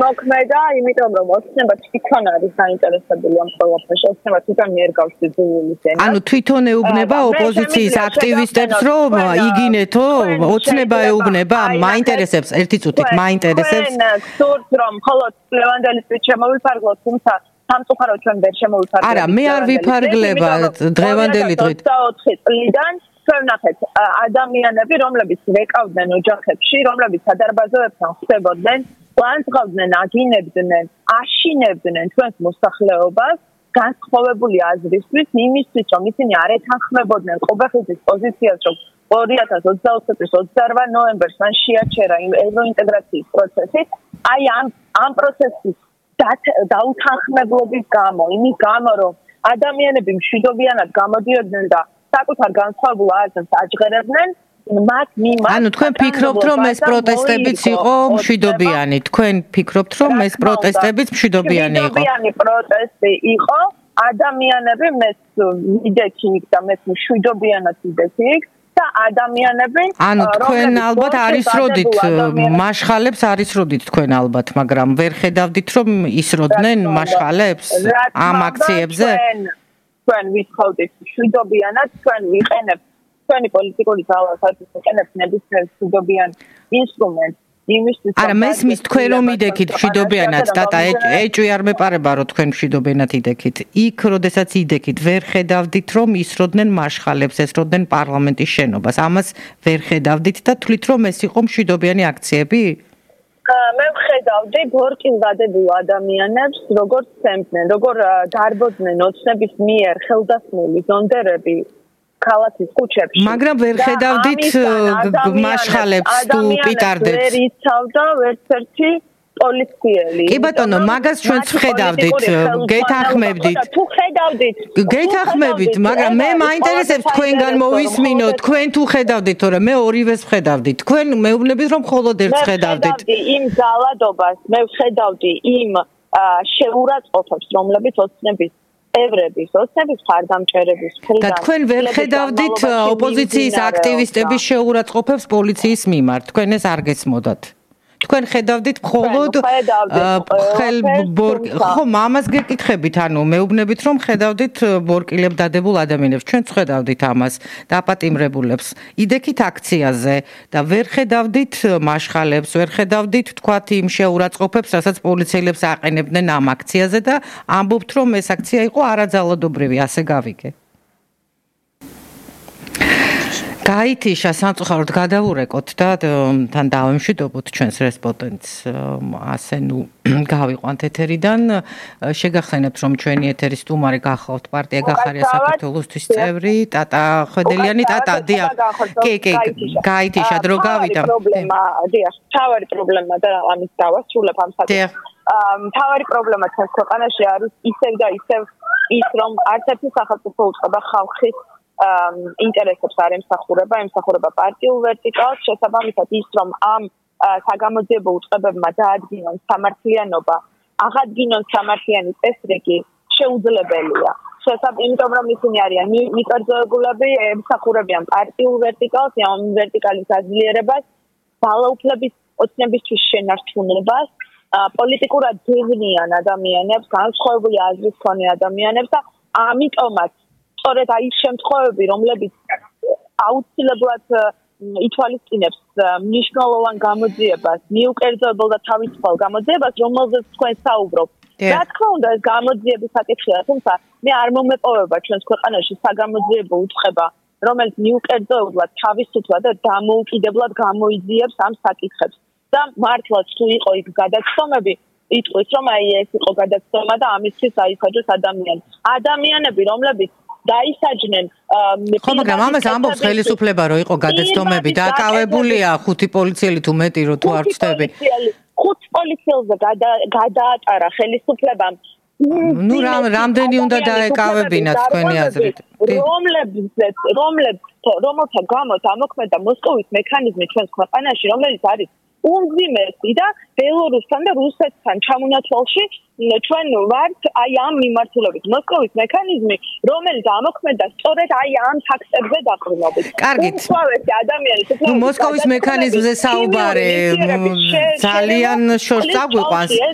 მოქმედა, იმიტომ რომ ოცნება თვითონ არის დაინტერესებული ამ ყველაფერში, ოცნება თვითონ მიერგავს ძულის ენას. ანუ თვითონ ეუბნება ოპოზიციის აქტივისტებს, რომ იგინეთო, ოცნება ეუბნება, მაინტერესებს, ერთი წუთით, მაინტერესებს. თქვენ გსურთ, რომ მხოლოდ ლევანდელისთვის შემოვიფარგლოთ, თუმცა სამწუხაროდ ჩვენ ვერ შემოვიფარგლებთ. არა, მე არ ვიფარგლება დღევანდელი დღით. 24 წლიდან ჩვენ ვნახეთ ადამიანები, რომლებიც ვეკავდნენ ოჯახებში, რომლებიც სადარბაზოებთან ხდებოდნენ, ლანძღავდნენ, აგინებდნენ, აშინებდნენ ჩვენს მოსახლეობას, განსხვავებული აზრისთვის, იმისთვის, რომ ისინი არ ეთანხმებოდნენ ყობეხიძის პოზიციას, რომ 2024 წლის 28 ნოემბერს მან შეაჩერა ევროინტეგრაციის პროცესი, აი ამ პროცესის დაუთანხმებლობის გამო, იმის გამო, რომ ადამიანები მშვიდობიანად გამოდიოდნენ და საკუთარ განსხვავებულ აზრს აჯღერებდნენ, ანუ თქვენ ფიქრობთ, რომ ეს პროტესტებიც იყო მშვიდობიანი? თქვენ ფიქრობთ, რომ ეს პროტესტებიც მშვიდობიანი იყო? მშვიდობიანი პროტესტი იყო, ადამიანები მეც ვიდექი და მეც მშვიდობიანად ვიდექი და ადამიანები ანუ თქვენ ალბათ არის როდით მაშხალებს არის როდით თქვენ ალბათ, მაგრამ ვერ ხედავდით, რომ ისროდნენ მაშხალებს ამ აქციებზე? თქვენ ვითხოვდით მშვიდობიანად, თქვენ ვიყენებთ ჩვენი პოლიტიკური ძალა საერთოდ იყენებს ნებისმიერ მშვიდობიან ინსტრუმენტს იმისთვის არა მესმის თქვენ რომ იდექით მშვიდობიანად დატა ეჭვი არ მეპარება რომ თქვენ მშვიდობიანად იდექით იქ როდესაც იდექით ვერ ხედავდით რომ ისროდნენ მაშხალებს ესროდნენ პარლამენტის შენობას ამას ვერ ხედავდით და თვლით რომ ეს იყო მშვიდობიანი აქციები მე ვხედავდი ბორკის დადებულ ადამიანებს როგორ ცემდნენ როგორ დარბოდნენ ოცნების მიერ ხელდასმული ზონდერები ქალაქის ქუჩებში მაგრამ ვერ ხედავდით მაშხალებს თუ პიტარდებს ვერ იცავდა ერთ-ერთი პოლიციელი კი ბატონო მაგას ჩვენც ვხედავდით გეთანხმებდით თუ ხედავდით გეთანხმებით მაგრამ მე მაინტერესებს თქვენგან მოვისმინო თქვენ თუ ხედავდით თორე მე ორივეს ვხედავდით თქვენ მეუბნებით რომ მხოლოდ ერთს ხედავდით იმ ძალადობას მე ვხედავდი იმ შეურაცხყოფებს რომლებიც ოცნების ევრების ოცნების ხარდამჭერების და თქვენ ვერ ხედავდით ოპოზიციის აქტივისტების შეურაცხყოფებს პოლიციის მიმართ თქვენ ეს არ გესმოდათ თქვენ ხედავდით მხოლოდ ხო ამას გეკითხებით ანუ მეუბნებით რომ ხედავდით ბორკილებ დადებულ ადამიანებს ჩვენც ხედავდით ამას დაპატიმრებულებს იდექით აქციაზე და ვერ ხედავდით მაშხალებს ვერ ხედავდით თქვათ იმ შეურაცხყოფებს რასაც პოლიციელებს აყენებდნენ ამ აქციაზე და ამბობთ რომ ეს აქცია იყო არაძალადობრივი ასე გავიგე გაითიშა სამწუხაროდ გადავურეკოთ და თან დავემშვიდობოთ ჩვენს რესპონდენტს ასე ნუ გავიყვანთ ეთერიდან შეგახსენებთ რომ ჩვენი ეთერის სტუმარი გახლავთ პარტია გახარია საქართველოსთვის წევრი ტატა ხვედელიანი ტატა დიახ კი გაითიშა დრო გავიდა თავარი პრობლემა და ამის დავასრულებ ამ საკითხს თავარი პრობლემა ჩვენს ქვეყანაში არის ისევ და ისევ ის რომ არც ერთი სახელმწიფო უწყება ხალხის ინტერესებს არ ემსახურება პარტიულ ვერტიკალს შესაბამისად ის რომ ამ საგამოძიებო უწყებებმა დაადგინონ სამართლიანობა აღადგინონ სამართლიანი წესრიგი შეუძლებელია იმიტომ რომ ისინი არიან მიკერძოებულები ემსახურებიან პარტიულ ვერტიკალს ამ ვერტიკალის გაძლიერებას ძალაუფლების ოცნებისთვის შენარჩუნებას პოლიტიკურად ძებნიან ადამიანებს განსხვავებული აზრის მქონე ადამიანებს და ამიტომაც სწორედ აი შემთხვევები, რომლებიც აუცილებლად ითვალისწინებს მნიშვნელოვან გამოძიებას, მიუკერძოებელ და თავისუფალ გამოძიებას, რომელზეც თქვენ საუბრობთ. რა თქმა უნდა, ეს გამოძიების საკითხია, თუმცა მე არ მომეპოვება ჩვენს ქვეყანაში საგამოძიებო უწყება, რომელიც მიუკერძოებლად, თავისუფლად და დამოუკიდებლად გამოიძიებს ამ საკითხებს. და მართლაც თუ იყო იქ გადაცდომები, იტყვის, რომ აი ეს იყო გადაცდომა და ამისთვის აიხაჯოს ადამიანები, რომლებიც დაისაჯნენ ხო მაგრამ ამას ამბობს ხელისუფლება რომ იყო გადაცდომები დაკავებულია 5 პოლიციელი თუ მეტი რო თუ არ ვწდები 5 პოლიციელზე გადაატარა ხელისუფლებამ ნუ რამდენი უნდა დაეკავებინათ თქვენი აზრით რომელთა გამოც ამოქმედა მოსკოვის მექანიზმი ჩვენს ქვეყანაში რომელიც არის უმძიმესი და ბელორუსთან და რუსეთთან ჩამონაცვალში ჩვენ ვართ აი ამ მიმართულებით მოსკოვის მექანიზმი რომელიც ამოქმედა სწორედ აი ამ ფაქტებზე დაყრდნობით კარგით ადამიანის მოსკოვის მექანიზმზე საუბარი ძალიან შორს წაგვიყვანს